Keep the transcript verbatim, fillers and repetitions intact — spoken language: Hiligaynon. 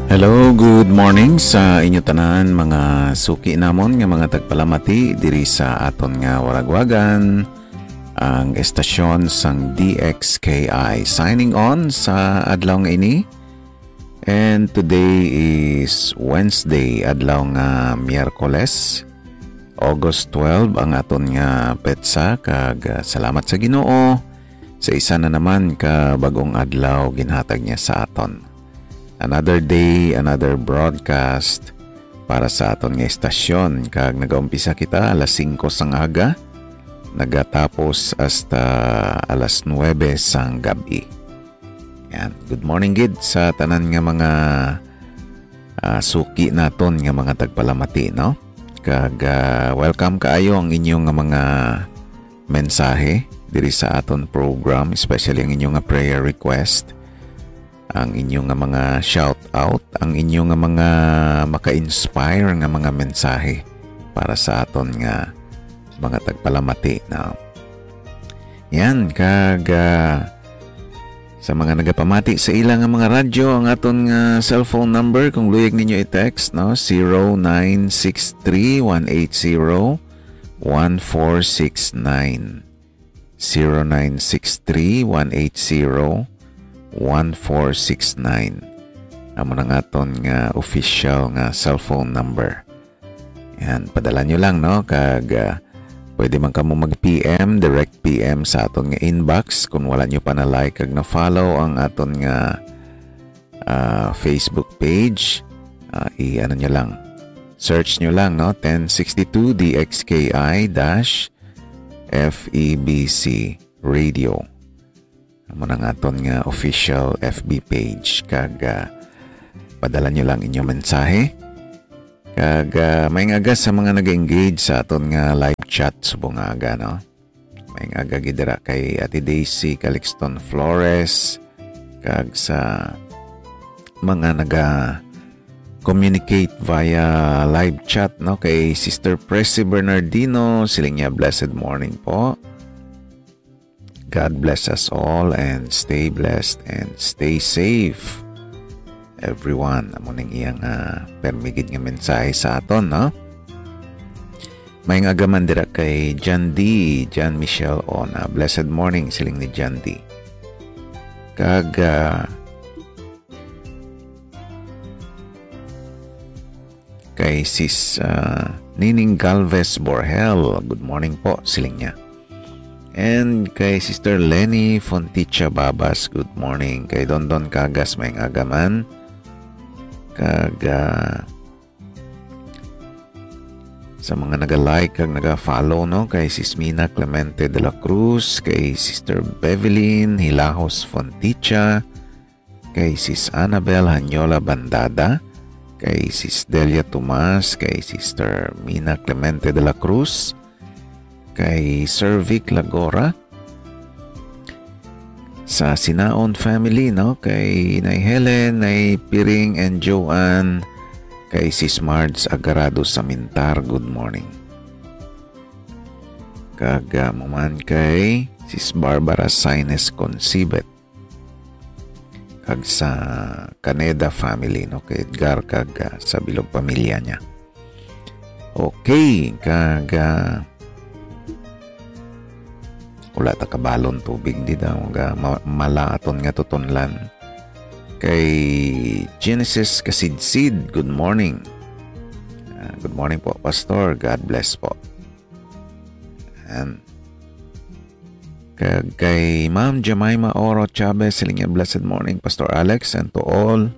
Hello, good morning sa inyo tanan, mga suki namon nga mga tagpalamati diri sa aton nga waragwagan, ang estasyon sang D X K I. Signing on sa adlaw nga ini. And today is Wednesday, adlaw nga Miyerkules, August twelve ang aton nga petsa, kag, ah, salamat sa Ginoo sa isa na naman ka bag-ong adlaw ginhatag niya sa aton. Another day, another broadcast para sa aton nga estasyon, kag nagaumpisa kita alas singko sang aga, nagatapos hasta alas nuebe sang gab-i. Yan. Good morning gid sa tanan nga mga, ah, suki naton nga mga tagpalamati, no? Kag, ah, welcome kaayo ang inyo nga mga mensahe diri sa aton program, especially ang inyo nga prayer request, ang inyo nga mga shout out, ang inyo nga mga maka-inspire nga mga mensahe para sa aton nga mga tagpalamati, no? Yan, kag, ah, sa mga nagapamati sa ila nga mga radyo, ang aton nga cellphone number, kung luyag ninyo i-text, no, zero nine six three one eight zero one four six nine. Zero nine six three one eight zero one four six nine. Amo na nga aton nga official nga cellphone number. Yan, padala nyo lang, no? Kag, ah, pwede man kamo mag-P M, direct P M sa aton nga inbox kung wala nyo pa na-like kag na-follow ang aton nga, ah, Facebook page. Ah, i-ano nyo lang. Search nyo lang, no? Ten sixty-two D X K I dash F E B C Radio. Amo na nga aton nga official F B page, kag, ah, padala nyo lang inyong mensahe. Kag, ah, maayong aga sa mga nag-engage sa aton nga live chat subong nga aga, no? Maayong aga gid dira kay Ate Daisy Calixton Flores, kag sa mga naga-communicate via live chat, no? Kay Sister Presi Bernardino, siling niya, "Blessed morning po." God bless us all and stay blessed and stay safe, everyone. Amo ning iyang, ah, permi gid nga mensahe sa aton, no? Maayong aga man dira kay John D, John Michelle Ona. "Blessed morning," siling ni John D. Kag, ah, kay Sis, ah, Nining Galvez Borhel, "Good morning po," siling niya. And kay Sister Lenny Fonticha Babas, "Good morning." Kay Dondon Cagas, maayong aga man. Kag, ah, sa mga naga-like kag naga-follow, no, kay Sis Mina Clemente de la Cruz, kay Sister Bevelyn Hilajos Fonticha, kay Sis Annabel Hanyola Bandada, kay Sis Delia Tomas, kay Sister Mina Clemente de la Cruz, kay Sir Vic Lagora, sa Sinaon family, no? Kay Nay Helen, Nay Piring and Joanne, kay Sis Marge Agarado sa Mintar, good morning. Kag, ah, mo man kay Sis Barbara Saines Concibet, kag sa Caneda family, no, kay Edgar, kag, ah, sa bilog pamilya niya. Okay, kag, ah, wala ta kabalon tubig di daw, ga, ma-, mala aton nga tutunlan. Kay Genesis Kasidsid, "Good morning." Ah, "Good morning po, Pastor. God bless po." Yan. Kag kay Ma'am Jemima Oro Chavez, siling niya, "Blessed morning, Pastor Alex, and to all